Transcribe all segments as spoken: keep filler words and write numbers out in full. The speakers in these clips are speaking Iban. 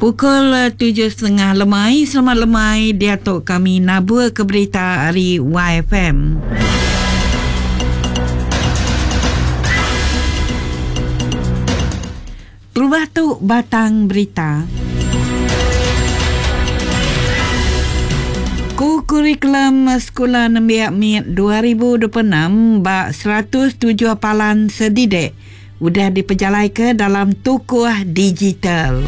Pukul tujuh setengah lemai, selamat lemai diatok kami nabur ke berita hari Y F M. Terubah tu batang berita. Ku kurikulum sekolah nembiak M I T dua ribu dua puluh enam bak seratus tujuh palan sedidek udah dipejalai ke dalam tukuh digital.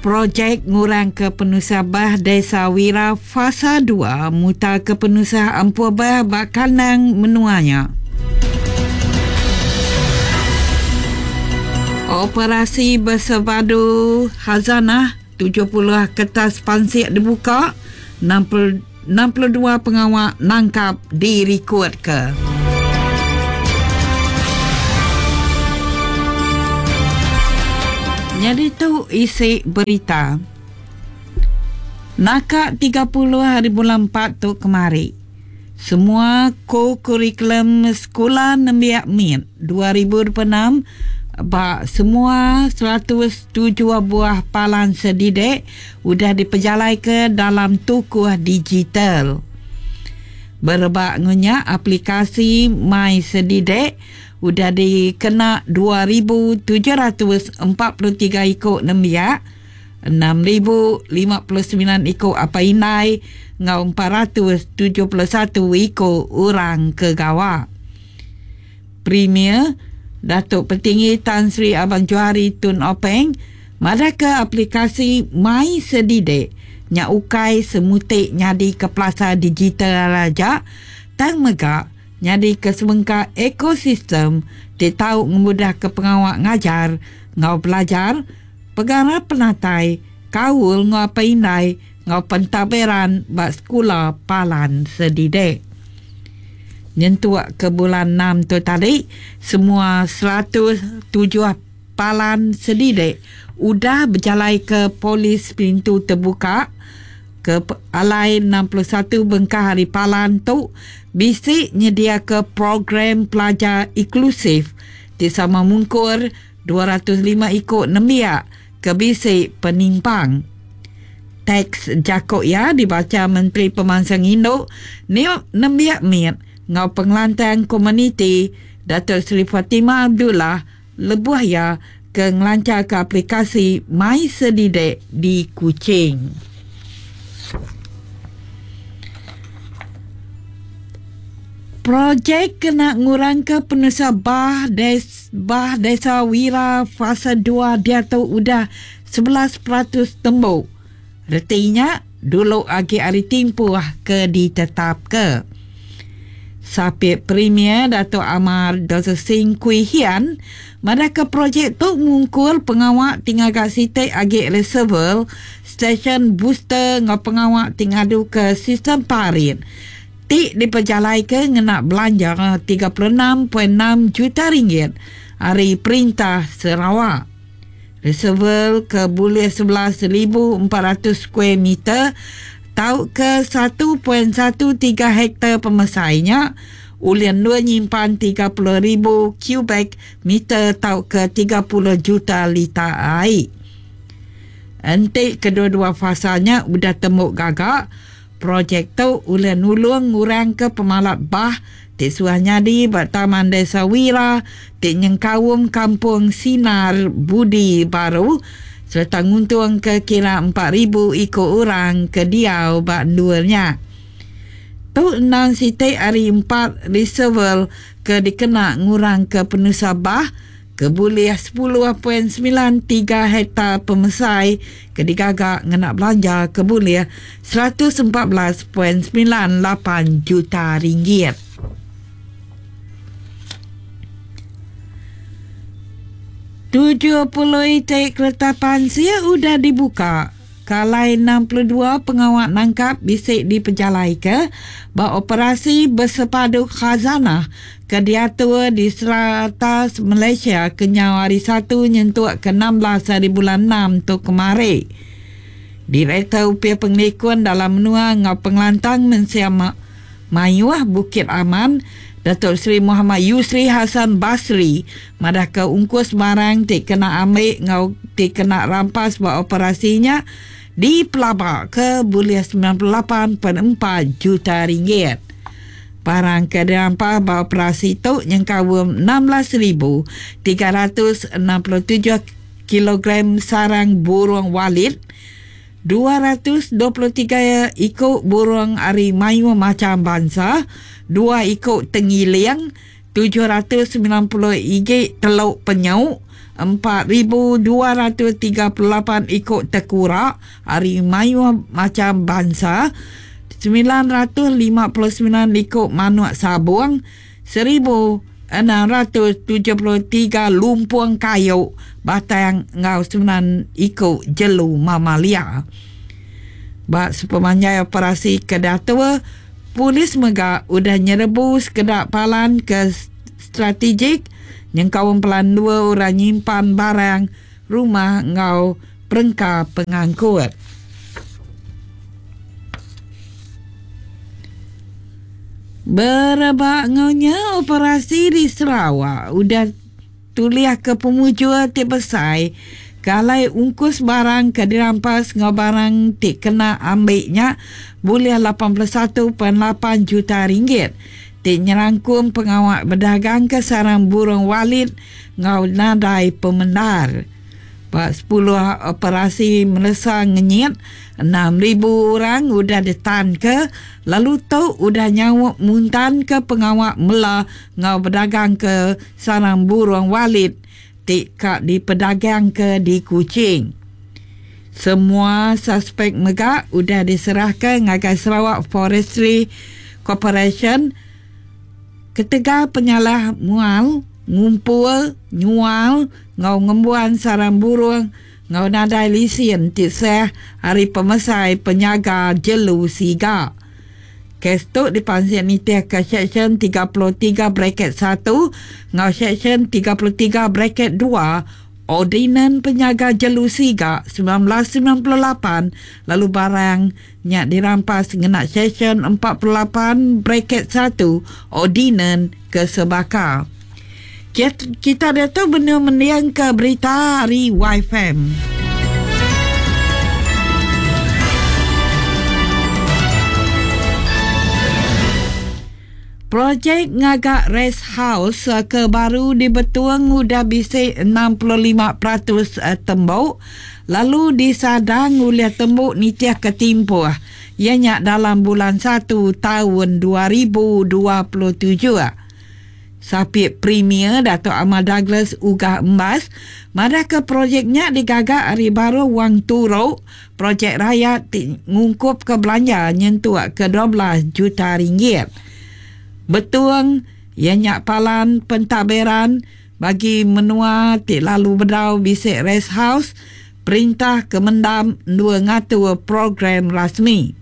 Projek ngurang ke penusah bah Desa Wira Fasa dua mutar ke penusah ampur bah bak kandang menuanya. Operasi bersepadu Khazanah tujuh puluh kertas pansik dibuka, enam puluh dua pengawal nangkap direkod ke. Jadi tu isi berita. Naka tiga puluh hari bulan empat tu kemari. Semua ko-kurikulum sekolah nembiak M I T dua ribu dua puluh enam bak semua seratus tujuh buah palan sedidek udah dipejalai ke dalam tukuh digital. Berebak ngunyak aplikasi My Sedidek udah dikena dua ribu tujuh ratus empat puluh tiga ikut nembiak, enam ribu lima puluh sembilan ikut apa inai, ngau empat ratus tujuh puluh satu ikut orang kegawa. Premier Datuk Petinggi Tan Sri Abang Johari Tun Openg madaka aplikasi My Sedidek nya ukai semutik nyadi ke plaza digital raja tang mega nyadi ke semengka ekosistem ti tau ngemudah ke pengawak ngajar ngau belajar pegara penatai kaul ngau apa indai ngau pentaberan bak sekolah palan sedidek. Nyentuk ke bulan enam tu tadi, semua seratus tujuh palan sedidek udah berjalai ke polis pintu terbuka ke alai enam puluh satu bengkah hari palan tu bisik nyedia ke program pelajar inklusif ti sama mungkur dua ratus lima ikut nembiak ke bisik penimpang. Teks jakok ya dibaca Menteri Pemansang Induk Nembiak M I T ngau pengelantang komuniti Datuk Seri Fatimah Abdullah lebuh ya ke ngelancar ke aplikasi My Sedidek di Kuching. Projek kena ngurang ke penusah bah des, bah Desa Wira Fasa dua dia tu udah sebelas peratus tembuk. Retinya dulu agi hari timpuh ke ditetap ke. Sapit Premier Datuk Amar Doktor Singh Kui Hian madaka projek tu mungkul pengawak tinggal kat sitik agi reservoir stesen booster ngau pengawak tinggal adu ke sistem parit. Tik diperjalai ke ngena belanja tiga puluh enam perpuluhan enam juta ringgit hari perintah Sarawak. Reservoir ke boleh sebelas ribu empat ratus square meter tau ke satu perpuluhan satu tiga hektar pemesainya ulian dua nyimpan tiga puluh ribu kubik meter tau ke tiga puluh juta liter air. Entik kedua-dua fasanya udah temuk gagak. Projek tu ulian nulung ngurang ke pemalap bah ti suah nyadi bak Taman Desa Wira ti nyengkawung Kampung Sinar Budi Baru serta nguntung ke kira empat ribu ikut orang ke diau bak duanya. Tu enam sitik hari empat reservoir ke dikena ngurang ke penusah bah ke boleh sepuluh perpuluhan sembilan tiga hektar pemesai ke digagak ngena belanja ke boleh seratus empat belas perpuluhan sembilan lapan juta ringgit. Tujuh puluh itik kereta pansia udah dibuka. Kalai enam puluh dua pengawak nangkap bisik dipejalai ke beroperasi bersepadu Khazanah ke diatur di serata Malaysia kenyau hari satu nyentuk ke enam belas hari bulan enam tu kemari. Direktur Upia Pengelikun dalam menua ngau pengelantang mensia mayuh Bukit Aman Datuk Seri Muhammad Yusri Hassan Basri madah ke ungkus barang ti kena ambil ngau ti kena rampas buat operasinya di pelabak ke boleh sembilan puluh lapan perpuluhan empat juta ringgit. Barang ke dirampas buat operasi tu yang kawum enam belas ribu tiga ratus enam puluh tujuh kilogram sarang burung walit, dua ratus dua puluh tiga ikut burung ari mayu macam bangsa, dua ikut tengiling, tujuh ratus sembilan puluh igi teluk penyuk, empat ribu dua ratus tiga puluh lapan ikut tekura ari mayu macam bangsa, sembilan ratus lima puluh sembilan ikut manuk sabung, seribu enam ratus tujuh puluh tiga lumpung kayu batang ngau sembilan ikut jelu mamalia. Bak sepemanjai operasi kedatua, polis mega udah nyerebu sekedak palan ke strategik yang kaum pelan dua orang nyimpan barang rumah ngau perengka pengangkut. Berebak ngaunya operasi di Sarawak udah tuliah ke pemujur ti besai kalai ungkus barang ke dirampas ngau barang ti kena ambilnya boleh lapan puluh satu perpuluhan lapan juta ringgit. Ti nyerangkum pengawak berdagang ke sarang burung walit ngau nadai pemendar. Pak sepuluh operasi melesa ngenyit enam ribu orang udah ditan ke lalu tu udah nyawak muntan ke pengawak mela ngau berdagang ke sarang burung walit ti kak dipedagang ke di Kuching. Semua suspek mega udah diserahkan ngagai Sarawak Forestry Corporation ketegal penyalah mual, ngumpul, nyual, ngau ngembuan sarang burung, ngau nadai lisen ti seh hari pemesai penyaga jelu siga. Kes tu dipansik nitih ke Seksyen tiga puluh tiga bracket satu ngau Seksyen tiga puluh tiga bracket dua Ordinan Penyaga Jelu Siga sembilan belas sembilan puluh lapan lalu barang nyak dirampas ngena Seksyen empat puluh lapan bracket satu Ordinan Kesebaka. Kita dah tu benar mendiang ke berita hari Y F M. Projek ngagak rest house ke baru di Betuang udah bisik enam puluh lima peratus tembok lalu disadang oleh tembok nitiah ketimpuh ianya dalam bulan satu tahun dua ribu dua puluh tujuh. Sapit Premier Datuk Amar Douglas Uggah Embas madah ke projeknya digagak hari baru wang turuk projek rakyat ngungkup ke belanja nyentuh ke dua belas juta ringgit. Betuang ianya palan pentadbiran bagi menua ti lalu bedau bisik rest house perintah kemendam dua ngatur program rasmi.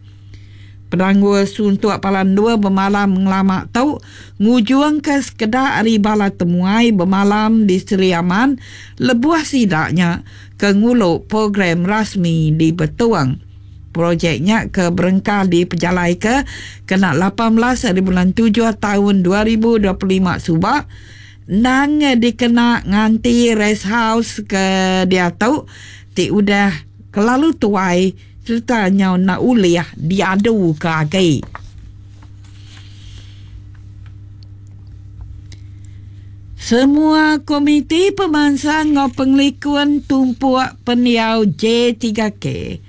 Penangguh suntuk palan dua bermalam ngelamak tau ngujuang ke sekedar hari bala temuai bermalam di Seri Aman lebuah sidaknya ke nguluk program rasmi di Betuang. Projeknya ke berengkah di pejalai ke kena lapan belas hari bulan tujuh tahun dua ribu dua puluh lima subak nang dikena nganti rest house ke dia tau ti udah kelalu tuai serta nyau nak uliah diadu ke agi. Semua komiti pemansang ngau penglikuan tumpuk peniau J tiga K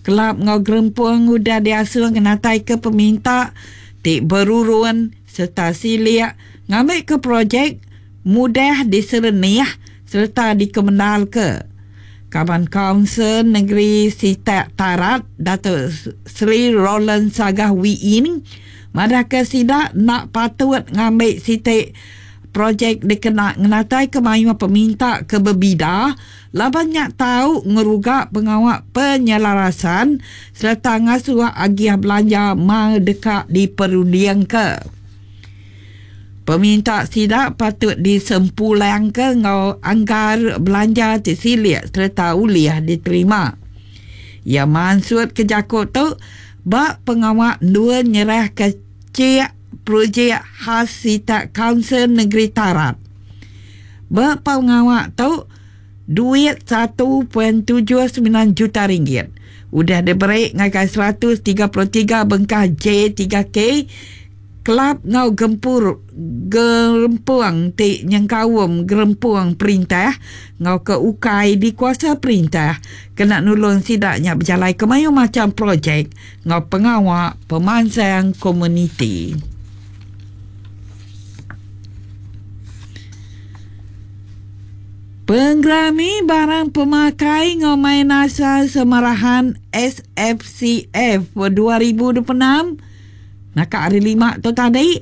kelab ngau gerempung udah diasuh kenatai ke peminta ti berurun serta siliak ngambil ke projek mudah diserenih serta dikemenal ke. Kaban Kaunsil Negeri Sitak Tarat Datuk Seri Roland Sagah Wiin madah ke sidak nak patut ngambil sitik projek dikena ngenatai ke mayu peminta ke berbida laban nyak tahu ngerugak pengawak penyelarasan serta ngasuh agiah belanja mal dekat diperundiang ke. Peminta sidak patut disempulang ke ngau anggar belanja ti silik serta uliah diterima. Ya maksud ke jakut tu bak pengawak dua nyerah ke cik projek khas Sitak Kaunsil Negeri Tarat. Berpengawak tu duit satu perpuluhan tujuh sembilan juta ringgit. Udah diberi ngagai seratus tiga puluh tiga bengkah J tiga K kelab ngau gempur gerempuang ti nyengkaum gerempuang perintah ngau ke ukai di kuasa perintah kena nulung sidaknya berjalai ke mayu macam projek ngau pengawak pemansang komuniti. Penggrami barang pemakai ngau main asal Semarahan S F C F dua ribu dua puluh enam Nakak hari lima tu tadi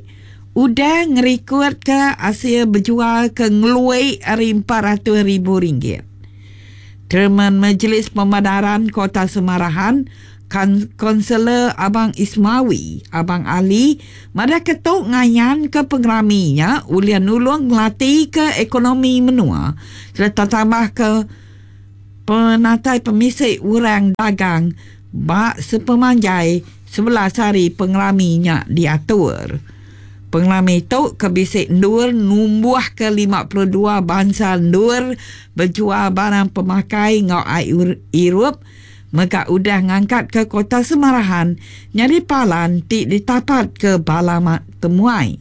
udah ngerikut ke hasil berjual ke ngeluai hari empat ratus ribu ringgit. Chairman Majlis Pemadaran Kota Semarahan, Konselor Abang Ismawi, Abang Ali, madah ketuk ngayan ke pengeraminya ulian nulung ngelatih ke ekonomi menua serta tambah ke penatai pemisik orang dagang bak sepemanjai sebelas hari pengeraminya diatur. Pengerami tu kebisik ndur numbuh ke lima puluh dua bangsa ndur berjual barang pemakai ngau air irup maka udah ngangkat ke Kota Semarahan nyari palan ti ditapat ke bala temuai.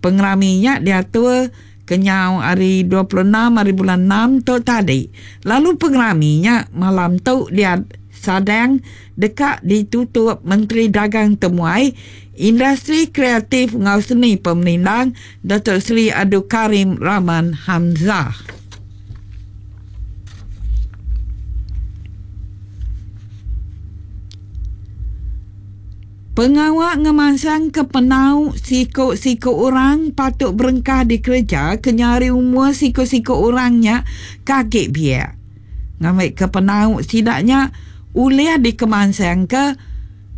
Pengeraminya diatur kenyau hari dua puluh enam hari bulan enam tu tadi. Lalu pengeraminya malam tu dia sadang dekat ditutup Menteri Dagang Temuai, Industri Kreatif Ngau Seni Pemerintah Datuk Seri Abdul Karim Rahman Hamzah. Pengawak ngemansang ke penau sikok-sikok orang patut berengkah di kerja kenyari umur sikok-sikok orangnya kaget biar. Ngambil ke penau sidaknya uliah dikemansang ke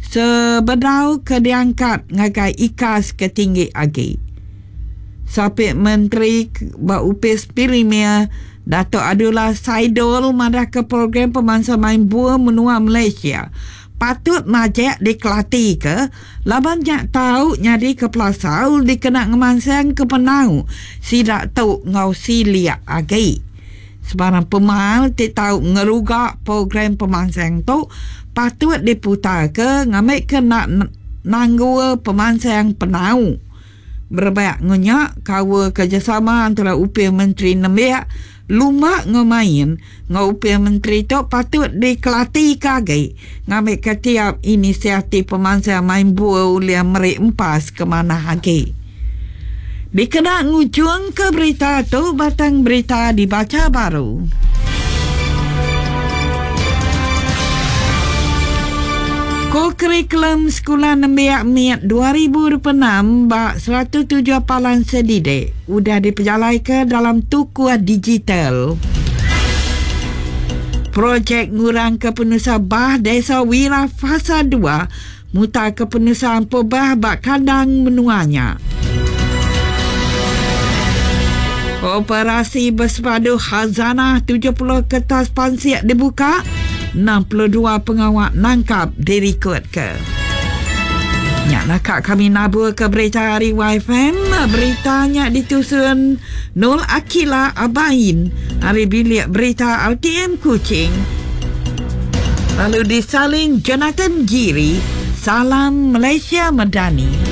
sebedau ke diangkat ngagai ikas ke tinggi agi. Sapit Menteri Baupis Premier Datuk Abdullah Saidol madah ke program pemangsa main buah menua Malaysia patut majek dikelati ke laban nyak tau nyadi ke pelasau dikena ngemansang ke penau sidak tau ngau siliak agi. Sebarang pemal ti tau ngerugak program pemansang tu patut diputar ke ngambil ke nak nanggu pemansang penau. Berebak ngenyak kawa kerjasama antara upil Menteri Nembiak lumak ngemain ngau upil Menteri tu patut dikelati kagi ngambil ke tiap inisiatif pemansang main buah ulia merik empas ke mana hagi. Dikena ngujung ke berita tu batang berita dibaca baru. Ko-kurikulum Sekolah Nembiak Miat dua ribu dua puluh enam bak seratus tujuh palan sedidik udah diperjalai ke dalam tukuh digital. Projek ngurang ke penusa bah Desa Wira Fasa dua mutar ke penusaan pobah bak kandang menuanya. Operasi bersepadu Khazanah tujuh puluh kertas pansiak dibuka, enam puluh dua pengawak nangkap dirikod ke. Nyak nakak kami nabur ke berita hari Y F M. Beritanya ditusun Nul Akila Abain hari bilik berita R T M Kuching. Lalu disalin Jonathan Giri. Salam Malaysia Madani.